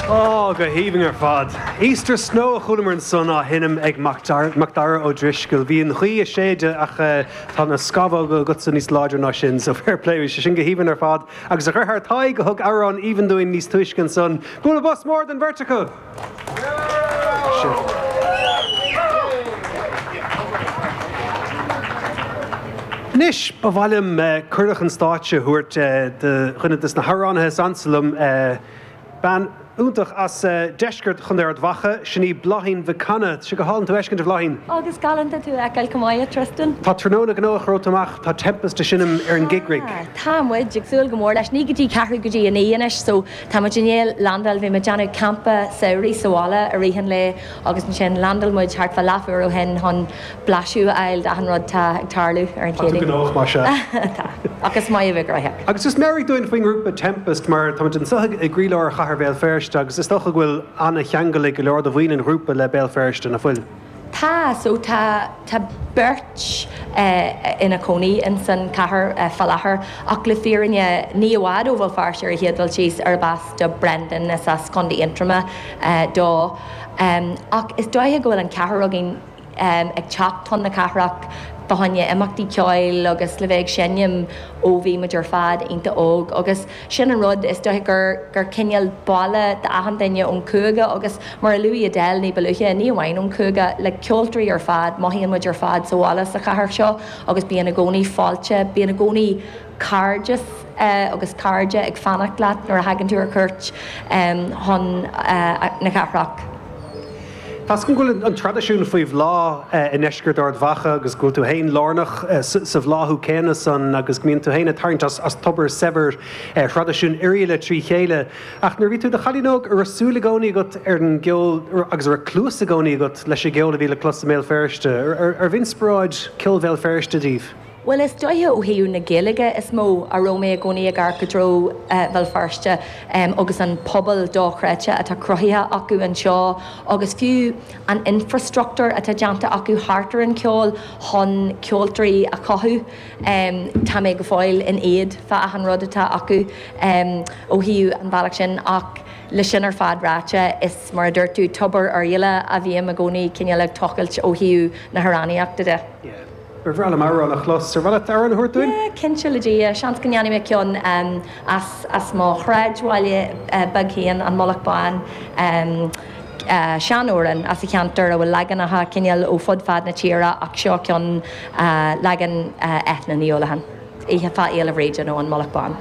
Ó, go haoibhinn ar fad. Easter Snow a chualamar ansan á sheinm ag Macdara Ó Drisceoil. Bhí an ghaoth ag séideadh ach tá na scamhóga agatsa níos láidre ná sin, so fair play. Bhí sé sin go haoibhinn ar fad. Agus a dheartháir Tadhg a thug amhrán aoibhinn dúinn níos túisce ansan. Bualadh bos mór don bheirt acu! Anois, ba mhaith liom cuireadh chun stáitse a thabhairt do dhuine de na hamhránaithe is ansa liom, bean iontach as deisceart Chontae Ard Mhacha, sin í Bláithín Mhic Cana. Tá sé go hálainn tú a fheiscint, a Bhláithín. Agus galánta tú a fheiceáil chomh maith, a Tristan. Tá tráthnóna gnóthach romhat amach, tá Tempest ag seinm ar an Gig Rig. Tá, tá muid ag súil go mór leis. Ní go dtí ceathrú go dtí a naoi anois so tá muid i ndiaidh landáil, bhí muid ag déanamh campa samhraidh sa bhaile i rith an lae agus ansin landáil muid thart fá leathuair ó shin chun blaiseadh a fháil d'achan rud tá ag tarlú ar an Tá tú Chéadaoin. gnóthach, más ea. Tá. Ach is maith a bheith gnóthach. Agus just meabhraigh dúinn faoin ngrúpa Tempest mar táimid anseo i gcroílár chathair Bhéal Feirste agus is dócha go bhfuil an-cheangal ag go leor de bhaill an ghrúpa le Béal Feirste, nach bhfuil? Tá, so tá, tá beirt ina cónaí ins an chathair fá láthair ach le fírinne ní i bhfad ó Bhéal Feirste ar an chéad dul síos arb as do Brendan, is as Contae Aontroma dó. Ach is dóiche go bhfuil an ceathrar againn ag teacht chun na cathrach fá choinne imeachtaí ceoil agus le bheith ag seinm ó bhí muid ar fad iontach óg agus sin an rud, is dóiche gur gur cineál baile d'achan duine ón chúige agus mar a luaigh Edel ní ba luaithe, ní amháin ón chúige, le ceoltóirí ar fad, mothaíonn muid ar fad sa bhaile sa chathair seo agus bíonn i gcónaí fáilte, bíonn i gcónaí cairdeas agus cairde ag fanacht leat nuair a thagann tú ar cuairt chun na cathrach. Tá's agam go bhfuil an traidisiún faoi bhláth i ndeisceart Ard Mhacha agus go bhfuil tú féin lárnach sa bhláthú céanna san agus go mbíonn tú féin ag tarraingt as tobar saibhir thraidisiún Oirialla trí chéile. Ach nuair a bhí tú i do chailín óg, an raibh súil i gcónaí agat ar an gceol agus an raibh cluas i gcónaí agat leis an gceol a bhí le clos i mBéal Feirste? Arbh inspioráid ceol Bhéal Feirste daoibh? Bhuel, is dóiche ó thaobh na Gaeilge is mó a raibh mé i gcónaí ag amharc i dtreo Bhéal Feirste agus an pobal dochreidte atá cruthaithe acu anseo agus fiú an infrastruchtúr atá déanta acu thart ar an cheol chun ceoltóirí a chothú. Tá mé go fóill in éad fá achan rud atá acu ó thaobh an bhealach sin ach le sin ar fad ráite, is mar a dúirt tú, tobar Oirialla a bhím i gcónaí cineál ag tochailt ó thaobh na hamhránaíochta de. Ba bhreá liom amhrán a chlos. Ar mhaith leat amhrán a thabhairt dúinn? Yeah, cinnte, le Dia. Seans go ndéanfaidh mé ceann as as mo shráidbhaile beag féin, An Mullach Bán. Seanamhrán as an cheantar a bhfuil leaganacha cineál ó fud fad na tíre ach seo ceann, leagan Eithne Ní Uallacháin, Oíche fá Fhéile Bhríde nó An Mullach Bán.